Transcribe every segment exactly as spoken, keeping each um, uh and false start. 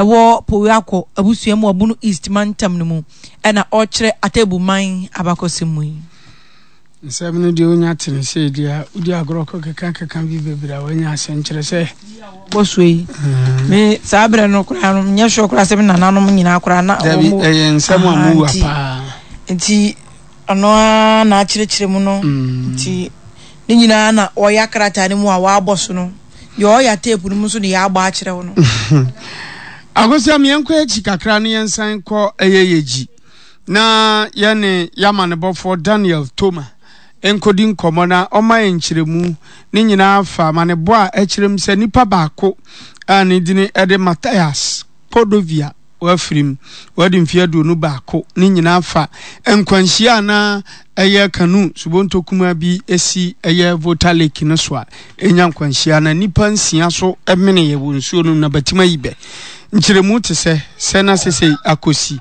ɛwɔ Powiako abusua mu wɔ Bono East mantam no mu ɛna ɔrekyerɛ Atebu man abakɔsɛm mu yi. Nsɛm no deɛ wonya te no sei deɛ a, wodi agorɔ kɔ keka keka bi bebree a woanya asɛm kyerɛ sɛ. Bɔ so yi. Mm. Me saa berɛ no koraa no nyɛ sure koraa sɛ me nananom nyinaa koraa na wɔn. Dabi ɛyɛ nsɛm a mu wa paa. Nti ɔno ara na akyerɛkyerɛ mu no. Mm. Nti ne nyinaa na ɔyɛ krataa no mu a wabɔ so no. Deɛ ɔyɛ tape no mu nso de yɛabɔ akyerɛ wo no. Akosua yɛnkɔ akyi kakra ne yɛnsan kɔ ɛyɛ yɛgyi. Na yɛne y'amanebɔfoɔ Daniel Toma nkɔdi nkɔmmɔ na ɔma yɛn nkyerɛmu. Ne nyinaa fa amanebɔ a ɛkyerɛ mu sɛ nipa baako a ne dini de Matthias Cordovia wafirim, wadi mfeɛ aduonu baako. Ne nyinaa fa nkwanhyia a na ɛyɛ kanu subonto kumaa bi si ɛyɛ Volta Lake no so a ɛnya nkwanhyia na nnipa nsia so meneeɛ wɔ nsuo no mu na batim ayi bɛ. Nkyerɛmu te sɛ sɛ na sesei akosi.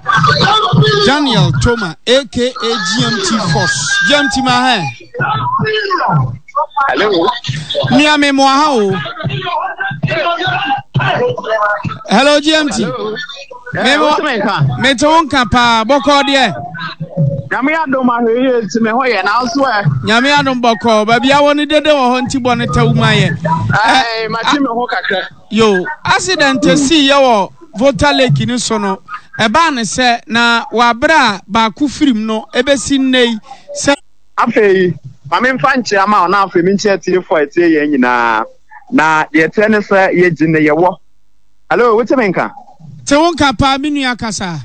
Daniel Toma aka G M T Force. G M T ma hɛ. Hello. Nua me mo aha o. Hello, G M T. Hello. Me mo me te wo nka paa bɔkɔɔ deɛ. Nyame adom ahwɛ yie nti me ho yɛ nanso ɛ. Nyame adom bɔkɔɔ baabi awɔ no dede wɔ hɔ nti bɔ no tɛw mu ayɛ. Ɛɛ mate me ho kakra. Yo, accident sii yɛ wɔ Volta Lake no so no, ɛbaa no sɛ na wɔ abere a baako firim no ebesi nnɛ yi sɛ. Afei, ma memfa nkyea ma wo na afei menkyea atiefoɔ a ɛtie yɛn nyinaa. Na deɛ ɛteɛ ne sɛ yɛgye ne yɛwɔ. Hello, wote me nka? Te wo nka paa, me nua kasa.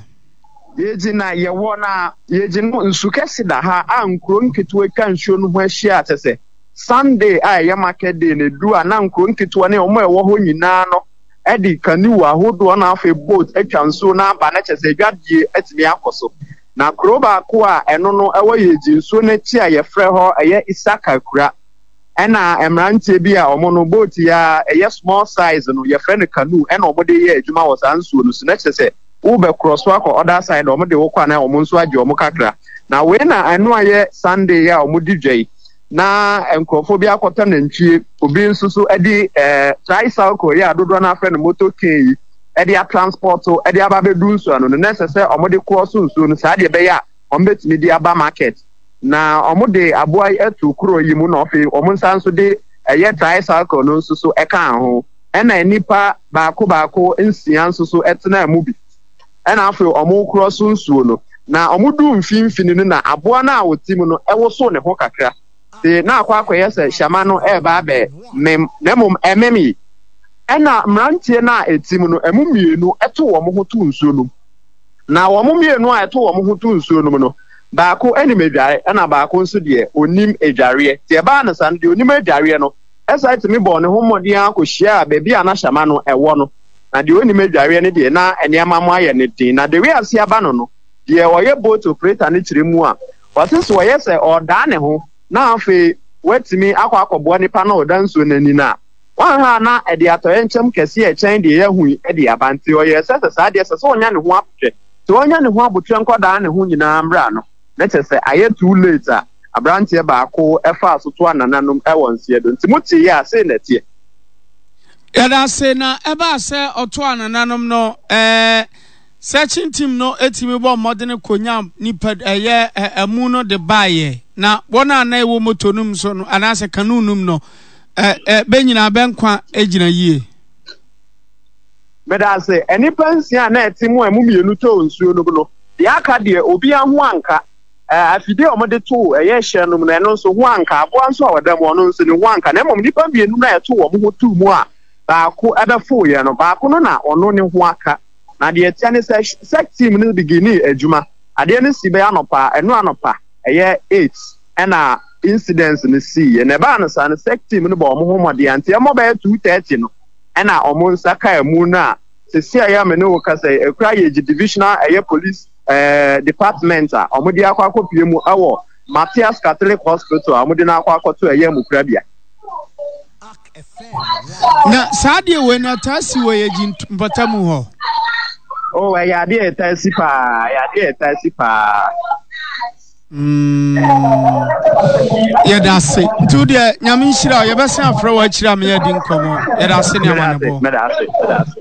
Yɛgye na yɛwɔ na yɛgye no nsu kɛse da ha a nkuro nketewa atwa nsuo no ho ahyia a kyɛ sɛ Sunday a ɛyɛ market day no edu a na nkuro nketewa ne wɔn a ɛwɔ hɔ nyinaa no de canoe ahodoɔ na afei boat atwa nsuo no aba na kyɛ sɛ adwadie atumi akɔ so. Na kuro baako a ɛno no ɛwɔ Yegyi nsuo no akyi a yɛfrɛ hɔ ɛyɛ Isaka kura ɛna mmeranteɛ bi a wɔn no boat yi a ɛyɛ small size no yɛfrɛ no canoe ɛna wɔn de yɛ adwuma wɔ saa nsuo no so na kyerɛ sɛ wobɛkorɔ so akɔ other side, wɔn de wokɔ a na wɔn nso agye wɔn kakra. Na wei na ɛno ayɛ Sunday a wɔn di dwa yi na nkurɔfoɔ bi akɔtɔ nantwie, obi nso so de ɛɛ tricycle yi a dodoɔ no afrɛ no motor cane yi ɛde atransport ɛde aba abɛdu nsuo ano no na ɛsɛ sɛ wɔde korɔ so nsuo no saa deɛ ɛbɛyɛ a wɔn bɛtumi de aba market. Na wɔn de aboa yi ato kuro yi mu na afei wɔn nsa nso de ɛyɛ tricycle no nso so ɛka ho ɛna nnipa baako baako nsia nso so ɛtena mu bi ɛna afei wɔn korɔ so nsuo no. Na wɔn du mfimfini no na aboa no a wɔte mu no ɛwoso ne ho kakra te na akɔ akɔyɛ sɛ hyɛma no ɛreba abɛ mem na mmom ɛmem yi ɛna mmeranteɛ no a ɛte mu no ɛmu mmienu ɛto wɔn ho to nsuo no mu. Na wɔn mmienu a ɛto wɔn ho to nsuo no mu no, baako anim adware ɛna baako nso deɛ onim adwareɛ. Deɛ ɛbaa no saa no, deɛ onim adwareɛ no ɛsan tumi bɔɔ ne ho mmɔden akɔhyia baabi a na hyɛma no ɛwɔ no, na deɛ onim adwareɛ no deɛ na nneɛma mo ayɛ no den. Na de wiase aba no no deɛ ɔyɛ boat operator no kyerɛ mu a ɔte so ɔyɛ sɛ ɔdaa ne ho na afei watumi akɔ akɔboa nipa na ɔda nsuo n'ani no a wanha na ɛde atɔyɛnkyɛm kɛseɛ ɛkyɛn deɛ yɛahu yi de aba. Nti ɔyɛ sɛ sɛ saa deɛ sɛ sɛ ɔnya ne ho abotwɛ sɛ ɔnya ne ho abotwɛ nkɔdaa ne ho nyinaa mmra no na kyerɛ sɛ ayɛ too late a aberanteɛ baako ɛfaa so to anananom ɛwɔ nseɛ do. Nti mote yɛ a sei na ɛteɛ. Yɛda ase. Na ɛbaa sɛ ɔto anananom no, ɛɛ searching team no etimi bɔ mmɔden konya nipa ɛyɛ ɛmu no de baayɛ na wɔn a na ɛwɔ moto no mu so no anaasɛ canoe no mu no ɛ ɛ bɛ nyinaa bɛ nkwa gyina yie? Meda ase. Nnipa nsia a na ɛte mu a ɛmu mmienu tɔɔ nsuo no mu no, deɛ aka deɛ obiara ho anka. Afidie a wɔde too ɛyɛ hyɛn no mu no, ɛno nso ho anka. Aboa nso a ɔda mu, ɔno nso ne ho anka. Na mmom nnipa mmienu no a ɛto wɔn ho too mu a baako ɛbɛfoeɛ no, baako no na ɔno ne ho aka. Na deɛ ɛteɛ ne sɛ sɛ team no beginning adwuma, adeɛ no si bɛyɛ anɔpa, ɛno anɔpa ɛyɛ eight ɛna incidents no siiɛ. Na ɛbaa no saa no, sec team no bɔ wɔn ho mmɔden nti ɛmɔ bɛyɛ two thirty no ɛna wɔn nsa kaa mu no a sisi a ɛyɛ me ne wo kasa yi ekura yɛ gye divisional ɛyɛ police ɛɛ department a wɔn de akɔ akɔpie mu ɛwɔ Matthias Catholic Hospital a wɔn de no akɔ akɔto ɛyɛ mukurabea. Na saa deɛ wei no ɛtaa si wɔ yɛgyi mpɔtamu hɔ? Oh, ɛyɛ adeɛ a ɛtaa si paa, ɛyɛ adeɛ a ɛtaa si paa. Mm. Yɛda ase. Nti wo deɛ Nyame nhyira wo. Yɛbɛsan afrɛ wo akyiri a meyɛ di nkɔmmɔ. Yɛda ase ne amanebɔ. Mɛda ase, mɛda ase.